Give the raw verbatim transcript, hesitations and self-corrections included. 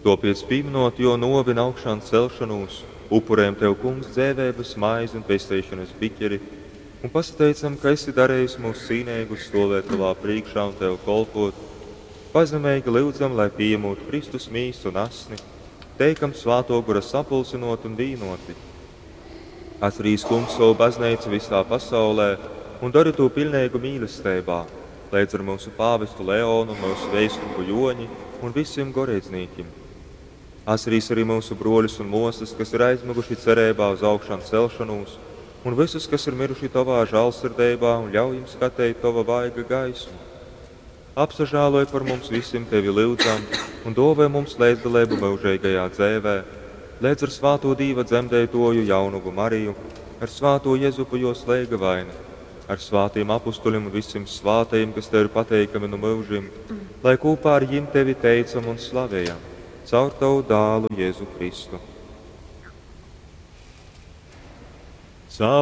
Tōpēc, pīmynot jō nōvi un augšancelšonūs, upurejam tev, Kungs, dzeiveibas maizi un pesteišonas biķeri un pasateicam, ka esi darejis myus cīneigus stōvēt tovā prīškā un tev kolpōt. Pazemeigi lyudzam, lai, pījamūt Kristus mīsu un asni, teikam Svātō Gora sapulcynōti un vīnōti. Atcerīs, Kungs, sovu bazneicu visā pasaulē un dori tū piļneigu mīlesteibā, leidz ar myusu pāvestu Leonu un myusu veiskupu Jōni un visim goreidznīkim. Atcerīs arī myusu brōļus un mōsas, kas ir aizmyguši cereibā uz augšancelšonūs, un vysus, kas ir myruši tovā žālsirdeibā, un ļauj jim skateit tova vaiga gaismu. Apsažāloj par mums visim tevi lyudzam un dōvoj mums leidzdaleibu myužeigajā dzeivē, leidz ar svātū Dīva dzemdeitōju jaunovu Mariju, ar svātū Jezupu jōs leigavaini, ar svātajim apustulim un visim svātajim, kas tev ir pateikami nu myužim, lai kūpā ar jim tevi teicam un slavejam, caur tavu dālu Jēzu Kristu.